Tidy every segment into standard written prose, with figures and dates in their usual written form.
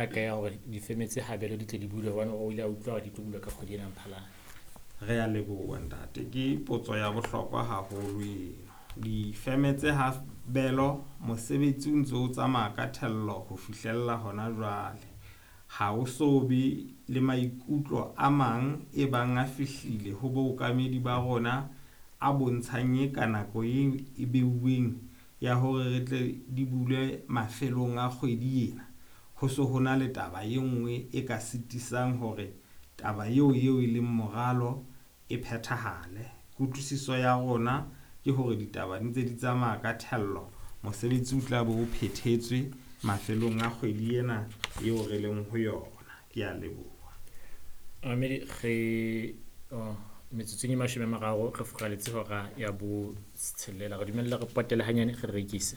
Ka ya hore difeme tse habelo di tle di bulwe hobane o ile a utlwa hore di tlo bulwa ka kgwedi ena ya Mphalane. Re a leboha ntate, ke potso ya bohlokwa haholo eno. Difeme tse habelo mosebetsi o ntso o tsamaya ka thello ho fihlella hona jwale. Ha o so be le maikutlo a mang e bang a fihlile ho bookamedi ba rona a bontshang e ka nako eo e beuweng ya hore re tle di bulwe mafelong a kgwedi ena. Ho so ho na le taba e nngwe e ka sitisang hore taba eo eo e leng moralo e phethahale. Kutlwisiso ya rona ke hore ditaba di ntse di tsamaya ka thello, mosebetsi o tla be o phethetswe mafelong a kgwedi ena eo re leng ho yona. Ke a leboha. Mamedi re oh, metsotsong e 30 re furaletse hora ya bo tshelela. Re dumella re potele hanyane re rekise.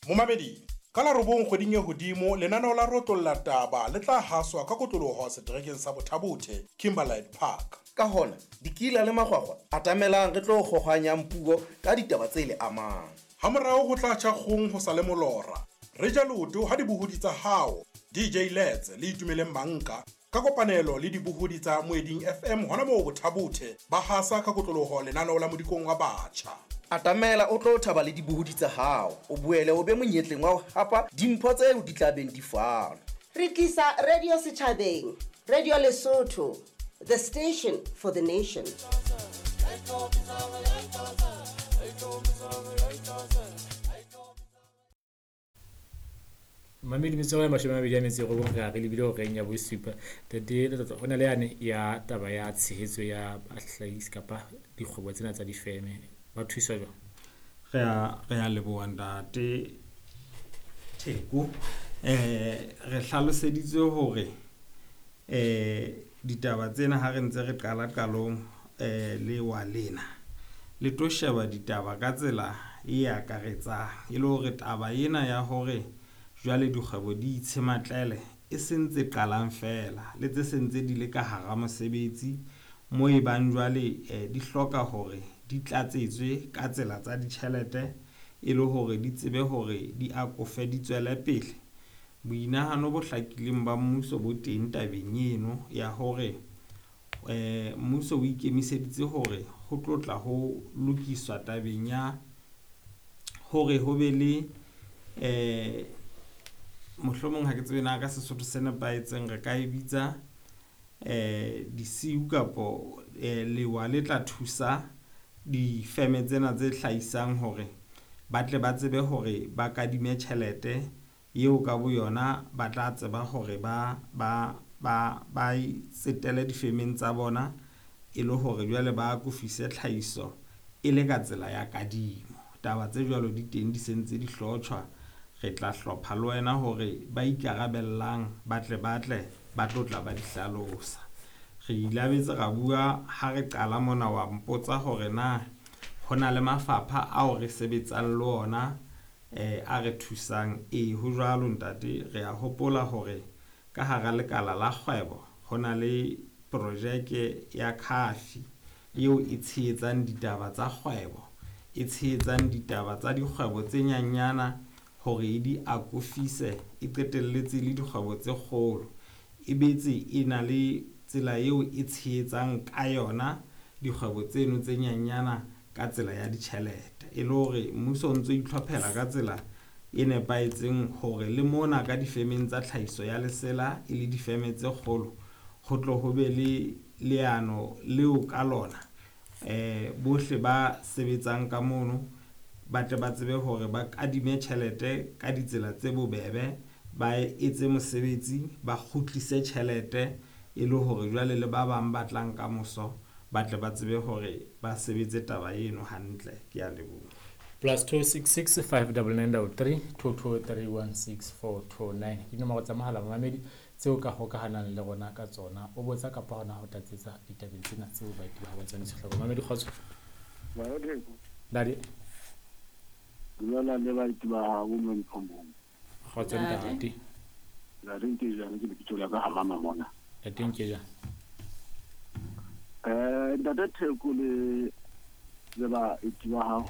Momamedi, ka la 9 kgweding e hodimo lenaneo la Rotlolla Taba le tla haswa ka kotloloho seterekeng sa Bothabothe, Kimberlite Park. Ka hona, dikila le makgwakgwa atamelang re tlo kgohwanyang puo ka ditaba tse le amang. Hamorao ho tla tjha kgong ho sa le molora. Re ja leoto ha dibohodi tsa hao, DJ Lets le Itumeleng Manka, ka kopanelo le dibohodi tsa Moeding FM hona moo Bothabothe ba hasa ka kotloloho lenaneo la Modikong wa Batjha. Atamela o tlo thaba le dibohodi tsa hao, o boele o be monyetleng wa ho hapa dimpho tseo di tla beng di fanwa. Re tlisa radio setjhabeng, Radio Lesotho, the station for the nation. Mamedi metsong ya 29 re a re lebile horeng ya bosupa. Tate Letlotlo, ho na le yane ya taba ya tshehetso ya bahlahisi kapa dikgwebo tsena tsa difeme. Ba thuswa jwang? Re a leboha ntate Theko. Re hlaloseditswe hore ditaba tsena ha re ntse re qala qalong le wa lena le tlo sheba ditaba ka tsela e akaretsang, e le hore taba ena ya hore jwale dikgwebo di itshematlele e sentse qalang fela le tse sentse di le ka hara mosebetsi mo e bang jwale di hloka hore di tlatsetswe ka tsela tsa ditjhelete e le hore di tsebe hore di akofe di tswele pele. Boinahano bo hlakileng ba mmuso bo teng tabeng eno ya hore mmuso o ikemiseditse hore ho tlotla ho lokiswa tabeng ya hore ho be le mohlomong ha ke tsebe na ka Sesotho se nepahetseng re ka e bitsa disiu kapo lewa le tla thusa difeme tsena tse hlahisang hore ba tle ba tsebe hore ba kadime tjhelete eo ka boyona ba tla tseba hore ba tsetele difemeng tsa bona e le hore jwale ba akofise tlhahiso e le ka tsela ya kadimo. Taba tse jwalo di teng di sentse di hlotjhwa. Re tla hlopha le wena hore ba ikarabellang ba tle ba tlo tla ba di hlalosa. Re ilabetse ra bua ha re qala mona wa mpotsa hore na ho na le mafapha ao re sebetsang le ona a re thusang. Ee, ho jwalo ntate, re a hopola hore ka hara lekala la kgwebo ho na le projeke ya Khafi eo e tshehetsang ditaba tsa kgwebo, e tshehetsang ditaba tsa dikgwebo tse nyanyana hore e di akofise, e qetelletse le dikgwebo tse kgolo. E betse e na le tsela eo e tshehetsang ka yona dikgwebo tseno tse nyanyana ka tsela ya ditjhelete. E le hore mmuso o ntso itlhophela ka tsela e nepahetseng hore le mona ka difemeng tsa tlhahiso ya lesela e le difeme tse kgolo ho tlo ho be le leano leo ka lona bohle ba sebetsang ka mono ba tle ba tsebe hore ba kadime tjhelete ka ditsela tse bobebe, ba etse mosebetsi, ba kgutlise tjhelete e le hore jwale le ba bang ba tlang ka moso ba tle ba tsebe hore ba sebetse taba eno hantle. Ke a leboha. +266 599 33 223 16429 ke dinomoro tsa mohala mamedi tseo ka hokahanang le rona ka tsona. O botsa kapa hona ho tlatsetsa ditabeng tsena tseo baeti ba ba tsamaisa hloko. Mamedi kgotso. Dadi. Dumela le baeti ba hao mo diphomong. Kgotso ntate. Ntate Nkejane ke lebitso la ka ha mama mona. Ntate Nkejane. Ntate Theko le baeti ba hao.